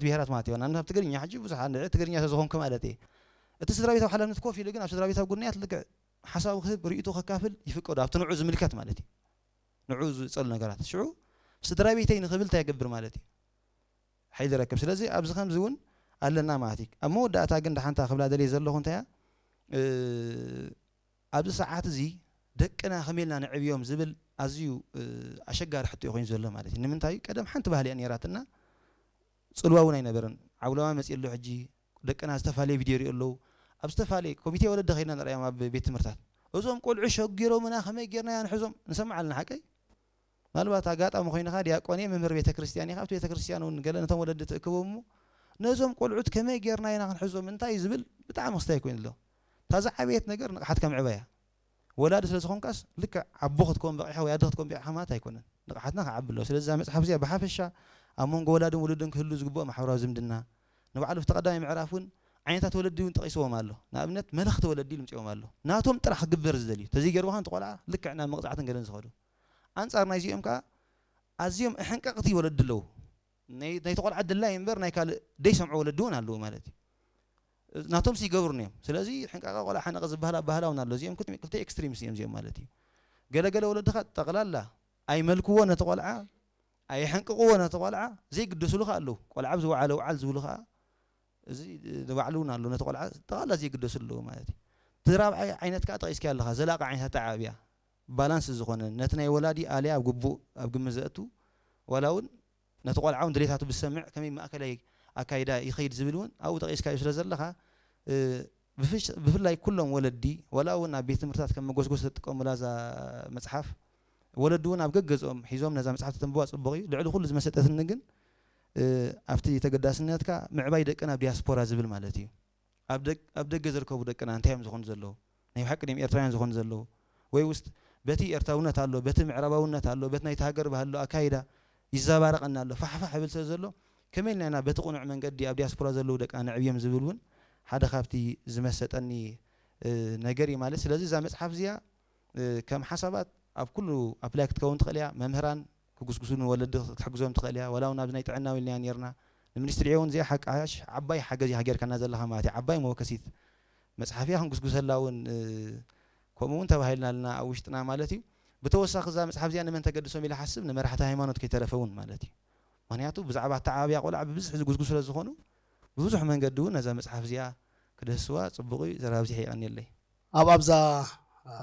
ብሄራት ማለት እዩ። ንኣብነት ኣብ ትግርኛ ሕጂ ብዙሕ ኣንድዒ ትግርኛ ስለዝኾንኩ ማለት እየ። እቲ ስድራ ቤታዊ ሓላፍነት ኮፍ ኢሉ ግን ኣብ ስድራ ቤታዊ ጉዳያት ልክዕ ሓሳቡ ክህብ፣ ርእይቶ ከካፍል ይፍቀዶ፣ ኣብቲ ንዑ ዝምልከት ማለት እዩ። ንዑ ዝጸሉ ነገራት። ሽዑ ስድራ ቤተይ ንኽብል እንታይ ይገብር ማለት እዩ? ሓይሊ ይረክብ። ስለዚ ኣብዚ ከምዚ እውን ኣለና ማለት እዩ። ኣብ መወዳእታ ግን ደሓንታ ክብላ ደልየ ዘለኹ እንታይ እያ? እ፣ ኣብዚ ሰዓት እዚ ደቅና ከመይ ኢልና ነዕብዮም ዝብል ኣዝዩ፣ እ፣ ኣሸጋሪ ሕቶ እዩ ኮይኑ ዘሎ ማለት እዩ። ንምንታይ? ቀደም ሓንቲ ባህሊ እያ ነይራትና፣ ጽልዋ እውን ኣይነበረን። ዓውለማ መጺኡ ኣሎ ሕጂ፣ ደቅና ዝተፈላለየ ቪድዮ ይሪኡ ኣለዉ። ኣብ ዝተፈላለየ ኮሚቴ ወለዲ ከይድና ንሪኦም ኣብ ቤት ትምህርታት። እዞም ቆልዑ ሸጊሮምና ከመይ ጌርና ኢና ንሕዞም? ንሰምዕ ኣለና ሓቀይ? ምናልባት ኣጋጣሚ ኮይንኻ ዲያቆን እየ፣ መምህር ቤተ ክርስቲያን ኢኻ፣ ኣብቲ ቤተ ክርስቲያን እውን ገለ ነቶም ወለዲ ትእክቦም እሞ ነዞም ቆልዑት ከመይ ጌርና ኢና ክንሕዞም እንታይ ዝብል ብጣዕሚ ክስታይ ኮይኑ ኣሎ። እታ ዝዓበየት ነገር ንቕሓት ከምዕባ እያ። ወላዲ ስለ ዝኾንካስ ልክዕ ኣቦ ክትከውን በቒዕኻ ወይ ኣደ ክትከውን በቒዕኻ ማለት ኣይኮነን። ንቕሓትና ክዓቢ ኣለዎ። ስለዚ እዛ መጽሓፍ እዚኣ ብሓፈሻ ኣብ መንጎ ወላድን ውሉድን ክህሉ ዝግብኦ ማሕበራዊ ዝምድና፣ ንባዕሉ ኣብቲ ቀዳማይ ምዕራፍ እውን ዓይነታት ወለዲ እውን ጠቒስዎም ኣሎ። ንኣብነት መለኽቲ ወለዲ ኢሉ ምጽኦም ኣሎ። ናቶም ጥራሕ ክግበር ዝደልዩ። ተዘይገርዎ ከኣ እቲ ቆልዓ ልክዕ ናብ መቕጻዕትን ገለን ዝኸዱ። ኣንጻር ናይዚኦም ከኣ ኣዝዮም ኣሕንቀቕቲ ወለዲ ኣለዉ። ናይ ናይቲ ቆልዓ ድላይ እምበር ናይ ካልእ ደይሰምዑ ወለዲ እውን ኣለዉ ማለት እዩ። ናቶም ይገብሩን እዮም። ስለዚ ሕንቃቐ ቆልዓ ሓነቐ ዝበሃል ኣባህላ እውን ኣሎ። እዚኦም ክልተ ክልተ ኤክስትሪምስ እዮም እዚኦም ማለት እዩ። ገለገለ ወለድኻ ጠቕላላ ኣይመልክዎ ነቲ ቆልዓ፣ ኣየሕንቅቕዎ ነቲ ቆልዓ፣ ዘይግደስሉ ከኣ ኣለዉ። ቆልዓ ኣብ ዝወዓለ ውዓል ዝብሉ ከኣ እዚ ንባዕሉ እውን ኣሎ። ነቲ ቆልዓ ጠቕላላ ዘይግደስሉ ኣለዉ ማለት እዩ። እቲ ራብዓይ ዓይነት ከኣ ጠቒስካዮ ኣለኻ፣ ዘላቒ ዓይነት ኣተዓባብያ፣ ባላንስ ዝኾነ፣ ነቲ ናይ ወላዲ ኣልያ ኣብ ግቡእ ኣብ ግምት ዘእቱ፣ ዋላ እውን ነቲ ቆልዓ እውን ድሌታቱ ብዝሰምዕ ከመይ ማእከላይ ኣካይዳ ይኸይድ ዝብል እውን ኣብኡ ጠቒስካዮ ስለ ዘለኻ፣ እ፣ ብፍሽ-፣ ብፍላይ ኩሎም ወለዲ፣ ዋላ እውን ኣብ ቤት ትምህርትታት ከም መጎስጎሲ ዝጥቀሙላ እዛ መጽሓፍ፣ ወለዲ እውን ኣብ ገገዝኦም ሒዞም ነዛ መጽሓፍ ተንብባ ጽቡቕ እዩ። ልዕሊ ኩሉ ዝመሰጠትኒ ግን፣ እ፣ ኣብቲ ተገዳስነትካ ምዕባይ ደቅና ኣብ ዲያስፖራ ዝብል ማለት እዩ። ኣብ ደግ-፣ ኣብ ደገ ዝርከቡ ደቅና እንታይ እዮም ዝኾኑ ዘለዉ? ናይ ብሓቂ ድዮም ኤርትራውያን ዝኾኑ ዘለዉ? ወይ ውስጥ በቲ ኤርትራውነት ኣሎ፣ በቲ ምዕራባውነት ኣሎ፣ በቲ ናይቲ ሃገር ባህሊ ኣሎ፣ ኣካይዳ ይዘባረቐና ኣሎ፣ ፋሕፋሕ ይብል ስለ ዘሎ፣ ከመይ ኢልና ኢና በቲ ቅኑዕ መንገዲ ኣብ ዲያስፖራ ዘለዉ ደቅና ነዕብዮም ዝብል እውን ሓደ ካብቲ ዝመሰጠኒ፣ እ፣ ነገር እዩ ማለት። ስለዚ እዛ መጽሓፍ እዚኣ፣ እ፣ ከም ሓሳባት ኣብ ኩሉ ኣፕላይ ክትከውን ትኽእል እያ። መምህራን ክጉስጉሱ ንወለዲ ክትሕግዞም ትኽእል እያ። ዋላ እውን ኣብዚ ናይ ጥዕና ኢልናያ ነይርና። ንምኒስትሪ እውን እዚኣ ሓቂ ዓባይ ሓገዝ ኢኻ ጌርካና ዘለኻ ማለት እዩ። ዓባይ መወከሲት መጽሓፍ እያ፣ ክንጉስጉሰላ እውን፣ እ፣ ከምኡ እውን ተባሂልና ኣለና ኣብ ውሽጥና ማለት እዩ። ብተወሳኺ እዛ መጽሓፍ እዚኣ ንመን ተገድሶም ኢለ ሓስብ፣ ንመራሕቲ ሃይማኖት ከይተረፈ እውን ማለት እዩ። ምኽንያቱ ብዛዕባ ኣተዓባብያ ቆልዓ ብብዝሒ ዝጉስጉ ስለ ዝኾኑ፣ ብብዙሕ መንገዲ እውን ነዛ መጽሓፍ እዚኣ ክድህስዋ ጽቡቕ እዩ። ዘራብዚሕ የቐንየለይ። ኣብ ኣብዛ፣ እ፣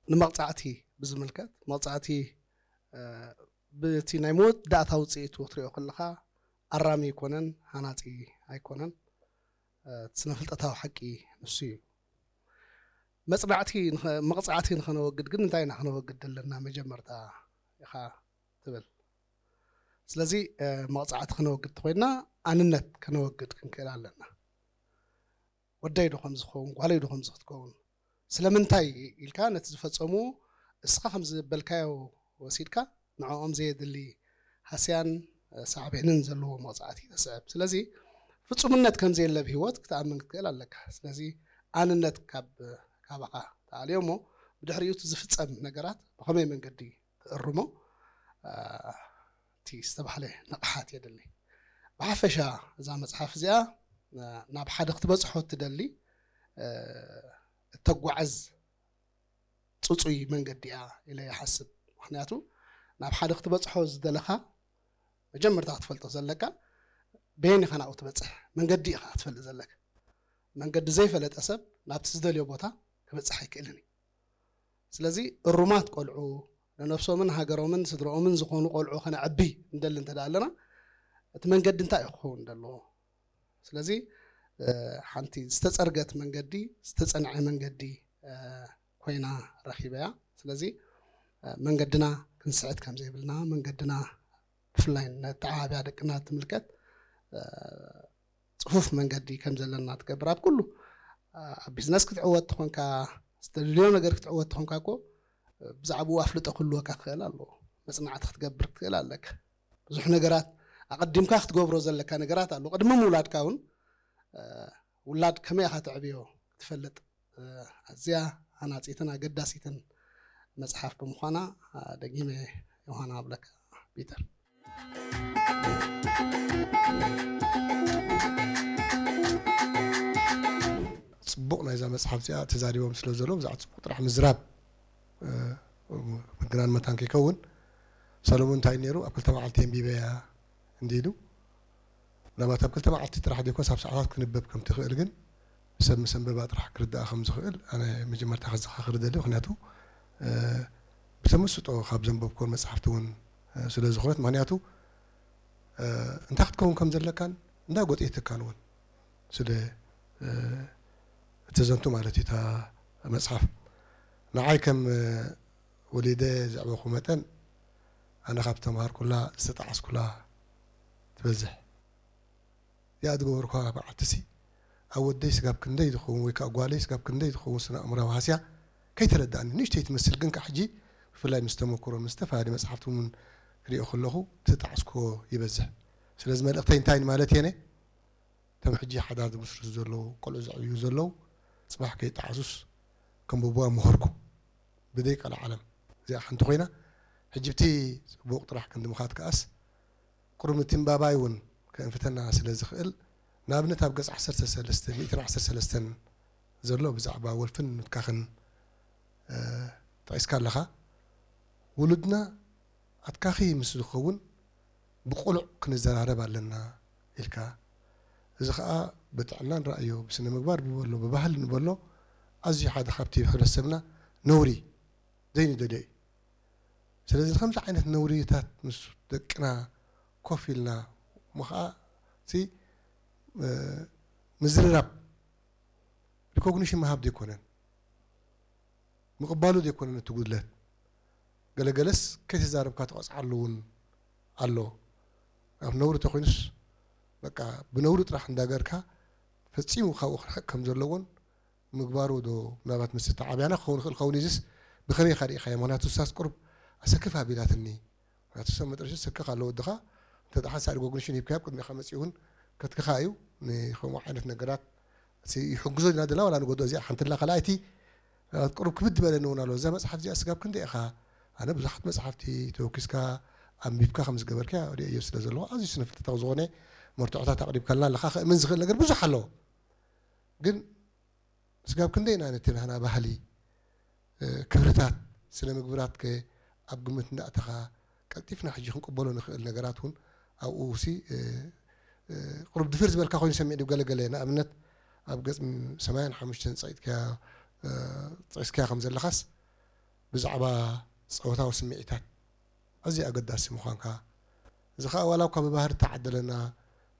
ንመቕጻዕቲ ብዝምልከት፣ መቕጻዕቲ፣ እ፣ ብቲ ናይ መወዳእታ ውጽኢቱ ክትሪኦ ከለኻ ኣራሚ ኣይኮነን፣ ሃናጺ ኣይኮነን። እ፣ እቲ ስነ ፍልጠታዊ ሓቂ ንሱ እዩ። መጽናዕቲ ንኸ-፣ መቕጻዕቲ ንኸነወግድ ግን እንታይ ኢና ከነወግድ ዘለና? መጀመርታ ኢኻ ትብል። ስለዚ፣ እ፣ መቕጻዕቲ ከነወግድ ተኾይንና ኣንነት ከነወግድ ክንክእል ኣለና። ወደይ ዶ ከምዚ ክኸውን፣ ጓለይ ዶ ከምዚ ክትከውን? ስለምንታይ ኢልካ ነቲ ዝፈጸሙ እስኻ ከም ዝበልካዮ ወሲድካ ንዕኦም ዘየድሊ ሃስያን፣ እ፣ ሳዕቤንን ዘለዎ መቕጻዕቲ ተስዕብ። ስለዚ ፍጹምነት ከም ዘየለ ኣብ ህይወት ክትኣምን ክትክእል ኣለካ። ስለዚ ኣንነት ካብ፣ ካባኻ ተኣልዮ እሞ ብድሕሪኡ እቲ ዝፍጸም ነገራት ብኸመይ መንገዲ ትእርሞ፣ እ፣ እቲ ዝተባህለ ንቕሓት የድሊ። ብሓፈሻ እዛ መጽሓፍ እዚኣ፣ እ፣ ናብ ሓደ ክትበጽሖ እትደሊ፣ እ፣ እተጓዕዝ ጽጹይ መንገዲ እያ ኢለ ይሓስብ። ምኽንያቱ ናብ ሓደ ክትበጽሖ ዝደለኻ መጀመርታ ክትፈልጦ ዘለካ በየን ኢኻ ናብኡ ትበጽሕ፣ መንገዲ ኢኻ ክትፈልጥ ዘለካ። መንገዲ ዘይፈለጠ ሰብ ናብቲ ዝደልዮ ቦታ ክበጽሕ ኣይክእልን እዩ። ስለዚ እሩማት ቆልዑ፣ ንነብሶምን ሃገሮምን ስድርኦምን ዝኾኑ ቆልዑ ከነዕቢ እንደሊ እንተ ደኣ ኣለና፣ እቲ መንገዲ እንታይ እዩ ክኸውን ዘለዎ? ስለዚ፣ እ፣ ሓንቲ ዝተጸርገት መንገዲ፣ ዝተጸንዐ መንገዲ፣ እ፣ ኮይና ረኺበያ። ስለዚ፣ እ፣ መንገድና ክንስሕት ከም ዘይብልና፣ መንገድና ብፍላይ ነተዓባብያ ደቅና ትምልከት፣ እ፣ ጽፉፍ መንገዲ ከም ዘለና ትገብር። ኣብ ኩሉ፣ እ፣ ኣብ ቢዝነስ ክትዕወት ተኾንካ፣ ዝተደልዮ ነገር ክትዕወት ተኾንካ እኮ፣ እ፣ ብዛዕባኡ ኣፍልጦ ክህልወካ ክኽእል ኣለዎ። መጽናዕቲ ክትገብር ክትኽእል ኣለካ። ብዙሕ ነገራት ኣቐዲምካ ክትገብሮ ዘለካ ነገራት ኣሎ። ቅድሚ ምውላድካ እውን፣ እ፣ ውላድ ከመይ ኢኻ ተዕብዮ ክትፈልጥ፣ እ፣ ኣዝያ ሃናጺትን ኣገዳሲትን መጽሓፍ ብምዃና፣ እ፣ ደጊመ ዮሃና ኣብለካ ፒተር። ጽቡቕ ናይዛ መጽሓፍ እዚኣ ተዛሪቦም ስለ ዘለዉ ብዛዕባ ጽቡቕ ጥራሕ ምዝራብ ምግናን መታን ከይከውን፣ ሰለሙን እንታይ ነይሩ ኣብ ክልተ መዓልቲ ኣንቢበያ እንዲሉ። ምናልባት ኣብ ክልተ መዓልቲ ጥራሕ ዘይኮንስ ኣብ ሰዓታት ክንበብ ከም ትኽእል ግን ሰብ ምስ ኣንበባ ጥራሕ ክርዳኣ ከም ዝኽእል ኣነ መጀመርታ ከዘኻኽር ደሊ። ምክንያቱ ብተመስጦ ካብ ዘንበብኮን መጽሓፍቲ እውን ስለ ዝኾነት፣ ምክንያቱ እንታይ ክትከውን ከም ዘለካን እንዳ ጎጤትካን እውን ስለ እተዘንቱ ማለት እዩ እታ መጽሓፍ። ንዓይ ከም ወሊደ ዘዕበኹ መጠን ኣነ ካብ ተምሃርኩላ ዝተጣዓስኩላ ትበዝሕ። እዚኣ ዝገበርኳ መዓልትሲ ኣብ ወደይ ስጋብ ክንደይ ዝኸውን ወይ ከዓ ጓለይ ስጋብ ክንደይ ዝኸውን ስነ ኣእምራዊ ሃስያ ከይተረዳእኒ ንእሽተይ ትመስል፣ ግን ከዓ ሕጂ ብፍላይ ምስ ተመክሮ ምስ ዝተፈላለዩ መጽሓፍቲ እውን ክሪኦ ከለኹ ትጣዕስኮ ይበዝሕ። ስለዚ መልእኽተይ እንታይ ማለት እየነ? እቶም ሕጂ ሓዳር ዝምስርቱ ዘለዉ፣ ቆልዑ ዘዕብዩ ዘለዉ፣ ጽባሕ ከይጠዓሱስ ከንብብዋ ምኸርኩ። ብደይ ቀልዓለም እዚኣ ሓንቲ ኮይና፣ ሕጂ ብቲ ጽቡቕ ጥራሕ ክንዲ ምኻድ ከኣስ፣ ቁሩብ ምትንባባይ እውን ከእንፍተና ስለ ዝኽእል፣ ንኣብነት ኣብ ገጽ ዓሰርተ ሰለስተ፣ ሚእትን ዓሰርተ ሰለስተን ዘሎ ብዛዕባ ወልፍን ምትካኽን ጠቒስካ ኣለኻ። ውሉድና ኣትካኺ ምስ ዝኸውን ብቁሉዕ ክንዘራረብ ኣለና ኢልካ። እዚ ኸኣ ብጥዕና ንረኣዮ፣ ብስነ ምግባር ንበሎ፣ ብባህሊ ንበሎ ኣዝዩ ሓደ ካብቲ ሕብረተሰብና ነውሪ ዘይንደልዮ እዩ። ስለዚ ከምዚ ዓይነት ነውሪታት ምስ ደቅና ኮፍ ኢልና እሞ ኸኣ እቲ ምዝርራብ ሪኮግኒሽን ምሃብ ዘይኮነን ምቕባሉ ዘይኮነን እቲ ጉድለት፣ ገለገለስ ከይተዛረብካ ትቐፅዓሉ እውን ኣሎ። ኣብ ነውሪ ተኮይኑስ በቃ ብነውሪ ጥራሕ እንዳገርካ ፈፂሙ ካብኡ ክርሕቅ ከም ዘለዎን ምግባሩ ዶ ምናልባት ምስ ተዓብያና ክኸውን ይኽእል ኸውን እዚስ ብኸመይ ኢኻ ርኢኻዮ? ምክንያቱ እሳስ ቁሩብ ኣሰክፍ ኣቢላትኒ። ምክንያቱ ሰብ መጥረሺ ሰክኽ ኣሎ ወድኻ እንተ ደሓን ሳሪ ጎግኒሽን ሂብካዮ ኣብ ቅድሚኻ መፂኡ እውን ከትክኻ እዩ። ንከምኡ ዓይነት ነገራት ይሕግዞ ኢና ደላ ዋላ ንጎዶ እዚኣ ሓንቲ ላ ካልኣይቲ ቁሩብ ክብድ ዝበለኒ እውን ኣሎ። እዛ መፅሓፍ እዚኣ ስጋብ ክንደይ ኢኻ ኣነ ብዙሓት መፅሓፍቲ ተወኪስካ ኣንቢብካ ከም ዝገበርካ ሪኦ ስለ ዘለኹ ኣዝዩ ስነ ፍልጠታዊ ዝኾነ መርትዖታት ኣቕሪብካልና ኣለኻ። ከእምን ዝኽእል ነገር ብዙሕ ኣለዎ ግን ስጋብ ክንደይ ኢና ነቲ ናህና ባህሊ ክብርታት ስነ ምግብራት ከ ኣብ ግምት እንዳእተኻ ቀልጢፍና ሕጂ ክንቅበሎ ንኽእል ነገራት እውን ኣብኡ ሲ ቁሩብ ድፍር ዝበልካ ኮይኑ ሰሚዕ ገለገለ ንኣብነት ኣብ ገጽ ሰማንያን ሓሙሽተን ጸቂጥካያ ጠቂስካያ ከም ዘለኻስ ብዛዕባ ጸወታዊ ስምዒታት ኣዝዩ ኣገዳሲ ምዃንካ እዚ ከዓ ዋላ እኳ ብባህሪ ተዓደለና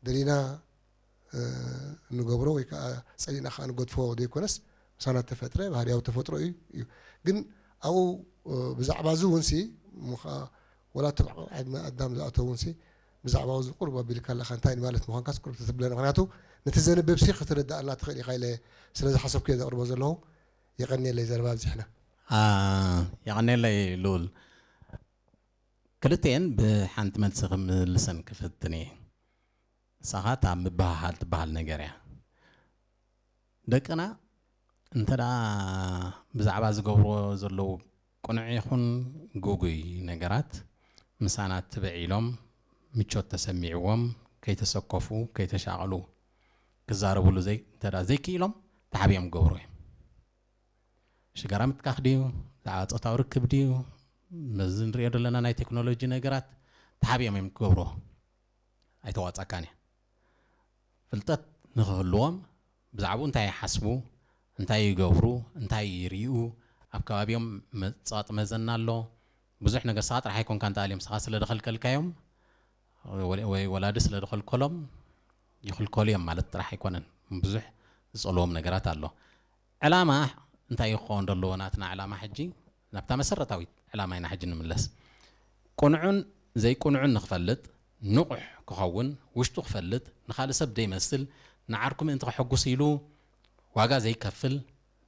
ደሊና እንገብሮ ወይ ከዓ ፀሊእና ከዓ ንገድፎ ዘይኮነስ ምሳና ተፈጥረ ባህርያዊ ተፈጥሮ እዩ እዩ ግን ኣብኡ ብዛዕባ እዚ እውን ሲ ወላ እቶም ዓድመ ኣዳም ዝኣተው እውን ሲ ብዛዕባ እዚ ቁርብ ኣቢልካ ኣለካ እንታይ ማለት ምኳንካ ቁርብ ተትብለና ምክንያቱ ነቲ ዘንብብ ሲ ክትርዳእና ትኽእል ኢካ ኢለ ስለ ዝሓሰብኩ እየ ዘቅርቦ ዘለኹ የቀንየለይ ዘረባ ኣብዚሕና የቀንየለይ ልኡል ክልተኤን ብሓንቲ መልሲ ክምልሰን ክፍትን እየ። ንሳ ኸኣ እታ ምብህሃል ትበሃል ነገር እያ። ደቅና እንተ ደኣ ብዛዕባ ዝገብርዎ ዘለዉ ቅኑዕ ይኹን ግጉይ ነገራት ምሳና ትብዕ ኢሎም ምቾት ተሰሚዕዎም ከይተሰከፉ ከይተሻቐሉ ክዛረብሉ ዘይ እንተ ደኣ ዘይክኢሎም ተሓቢኦም ክገብሩ እዮም። ሽጋራ ምትካኽ ድዩ ብዛዕባ ፆታዊ ርክብ ድዩ ነዚ ንሪኦ ዘለና ናይ ቴክኖሎጂ ነገራት ተሓቢኦም እዮም ክገብርዎ ኣይተዋፀካን እየ ፍልጠት ንክህልዎም ብዛዕባኡ እንታይ ይሓስቡ እንታይ ይገብሩ እንታይ ይርኡ ኣብ ከባቢኦም መፃጥ መዘና ኣሎ ብዙሕ ነገር ስኻ ጥራሕ ኣይኮንካ እንተኣልዮም ስኻ ስለ ደኸልከልካዮም ወይ ወላዲ ስለ ደኸልከሎም ይኽልከሉ እዮም ማለት ጥራሕ ኣይኮነን ብዙሕ ዝፀልዎም ነገራት ኣሎ ዕላማ እንታይ እዩ ክኸውን ዘለዎ ናትና ዕላማ ሕጂ ናብታ መሰረታዊት ዕላማ ኢና ሕጂ ንምለስ ቅኑዕን ዘይቅኑዕን ንክፈልጥ ንቑሕ ክኸውን ውሽጡ ክፈልጥ ንኻልእ ሰብ ዘይመስል ንዓርኩ ምእንቲ ከሐጉስ ኢሉ ዋጋ ዘይከፍል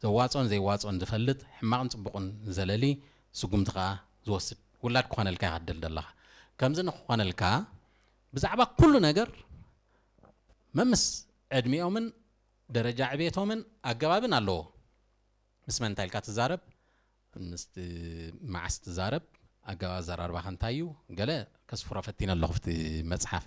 ዘዋፅኦን ዘይዋፅኦን ዝፈልጥ ሕማቕን ፅቡቕን ዝለሊ ስጉምቲ ከዓ ዝወስድ ውላድ ክኾነልካ ኢኻ ትደሊ ዘለኻ ከምዚ ንክኾነልካ ብዛዕባ ኩሉ ነገር መምስ ዕድሚኦምን ደረጃ ዕቤቶምን ኣገባብን ኣለዎ ምስ መን እንታይ ኢልካ ትዛረብ ምስቲ መዓስ ትዛረብ ኣገባብ ኣዘራርባኻ እንታይ እዩ? ገለ ከስፍሮ ፈቲነ ኣለኹ ኣብቲ መጽሓፍ።